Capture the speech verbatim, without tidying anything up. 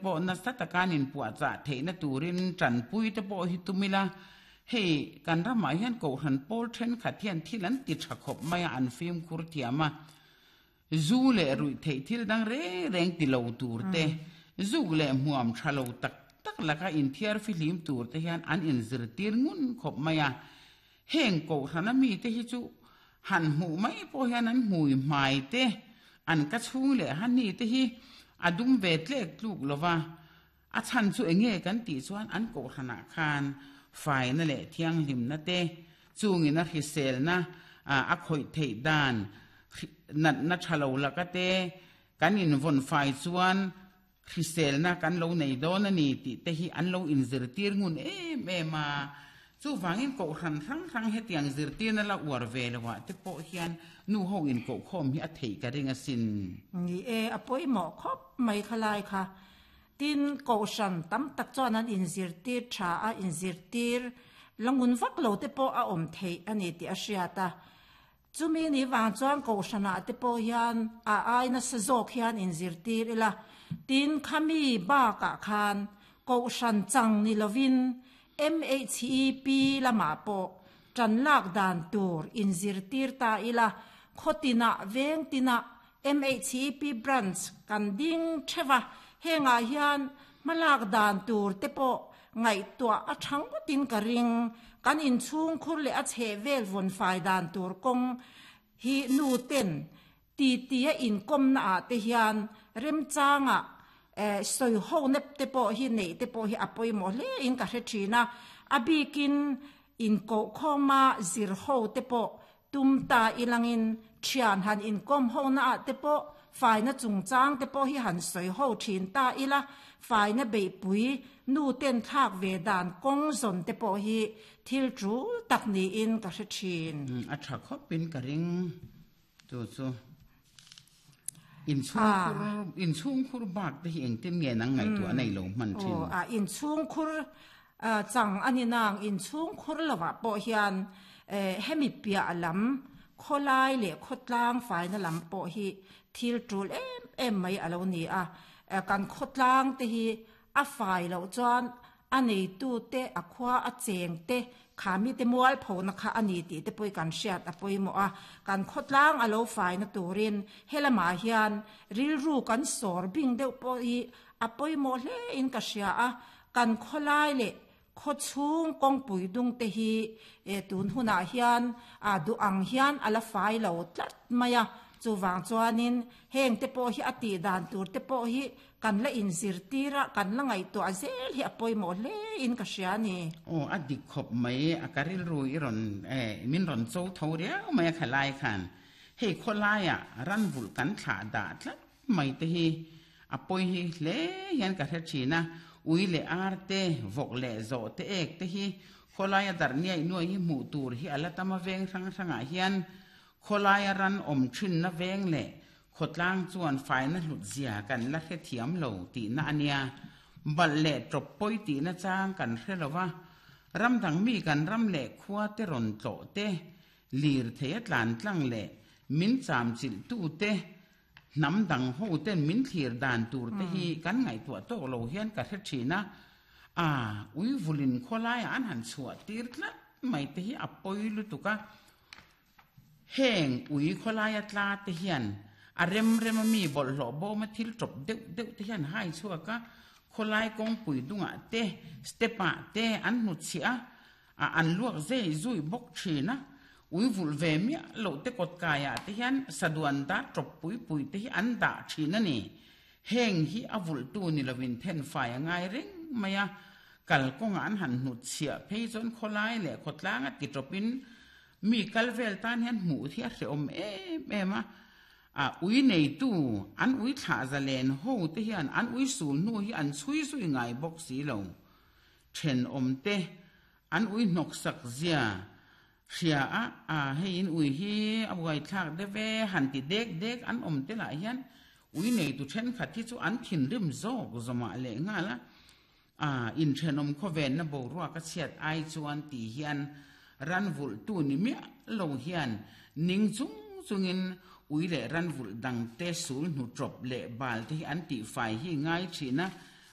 pawh nasa taka an inpuahchah theihna turin tanpui te pawh hi tum ila, hei kan ramah hian kohhran pawl thenkhat hian thil an ti tha khawp mai a, an fimkhur thiam a, zu leh ruih theih thil dang reng reng ti lo tur te, zuk leh hmuam tha lo tak tak laka inthiar fihlim tur te hian an inzirtir ngun khawp mai a, heng kohhrana mi te hi chu han hmuh mai pawh hian an hmui hmai te, an ka chhung leh hani te hi a dum ve tlek tluk lova, a chhan chu enge kan tih chuan an kohhranah khan faina leh thianghlimna te, chungin a hriselna a khawih theih dan natna tha lo laka te, kan invawn fai chuan hriselna kan lo nei dawn a ni tih te hi an lo inzirtir ngun em em a, chu wangin kohhran hrang hrang hetiang zirtirna la uar ve loah te pawh hian nu ho in kohkhawm hi a theih ka ring asin. Ni e, a pawimawh khawp mai khalai kha. Tin kohhran tam tak chuan an inzirtir tha a, inzirtir langun vak lo te pawh a awm theih a ni tih a hriat a. Chumi ni wang chuan kohhranah te pawh hian a ai nasa zawk hian inzirtir ila. Tin khami bakah khan kohhran chang ni lovin M H E P lama pawh tan lak dan tur inzirtir ta ila, khotina veng tina M H E P branch kan ding thewa henga hian malak dan tur te pawh ngai tua a thang tin ka ring kan in chung khur le a chhe vel von fai dan tur kong hi nu ten ti ti a in kom na a te hian rem changa eh soi ho nep te pawh hi nei te pawh hi a pawimawh hle in ka hre thina, a bikin in ko khawma zir ho te pawh tum ta ilangin thian han in kom ho na a te pawh faina chungchang te pawh hi han soi ho thin ta ila, faina beipui nu ten thlak ve dan kong zon te pawh hi thil tul tak ni in ka hre thin. A tha khawpin ka ring chu chu in chung khur in chung khur bak te hi engtin nge nang ngai tu anei lo man thin. A in chung khur chang ani nang in chung khur lawa pawh hian hemi pia lam kholai le khotlang faina lam pawh hi thil tul em em mai alo ni a, kan khotlang te hi a fai lo chuan a nei tu te a khua a cheng te khami te mual phona kha ani ti te pui kan hriat a pawimawh a, kan khotlang alo faina turin helama hian rilru kan sawr bing deuh pawh hi a pawimawh hle in ka hria a, kan kholai le khochhung kawngpui dung te hi e tun hunah hian a du ang hian ala fai lo tlat mai a, chuwang chuanin heng te pawh hi a tih dan tur te pawh hi kan la inzirtira kan la ngaihtuah zel hi a pawimawh hle in ka hria ni. Aw a dik khawp mai a ka rilru i rawn eh min rawn cho tho riau mai a khalai khan hei khawlaia ran vul kan thlah dah tlat mai te hi a pawi hi hle hian ka hre thin a, ui le ar te vawk le zawh te ek te hi khawlaia dar niai nuai hi hmuh tur hi ala tama veng hrang hrangah hian khawlaia ran awm thin na veng le khawtlang chuan faina hlut zia kan la hre thiam lo tih na ania, bal le tawp pawi tih na chang kan hre lova, ram dang mi kan ram le khua te rawn tlawh te lir thei a tlan tlang le min cham chilh tu te nam dang ho ten min thlir dan tur te hi kan ngaihtuah tawk lo hian ka hre thin a, a ui vulin khawlaia an han chhuah tir tlat mai te hi a pawi lutuk a, heng ui khawlaia tla te hian a rem rem a mi bawlhhlawh bawm a thil tawp deuh deuh te hian hai chhuak a, khawlai kawngpui dungah te step-ah te an hnu chhiah a, an luak zei zui bawk thin a, ui vul ve miah lo te kawt kaiah te hian saduan da tawp pui pui te hi an dah thin a ni, heng hi a vul tu ni lovin then fai a ngai reng mai a, kal kawnga an han hnu chhiah phei chuan khawlai leh khawtlang a ti tawpin mi kal vel tan hian hmuh hi a hre awm em em a, a ui nei tu an ui thlah zalen ho te hian an ui sul hnu hi an chhui zui ngai bawk si lo, then awm te an ui hnawk sak zia hria a, a hei in ui hi a buai thlak deuh han ti dek dek an awm te lah hian ui nei tu then khat hi chu an thin rim zawk zawmah leh nghal a, a in thenawm khawven na boruak a chhiat ai chuan ti hian ran vul tu ni miah lo hian ning chung chungin ui le ran vul dang te sul hnu tawp le bal te hi an tih fai hi ngai thina.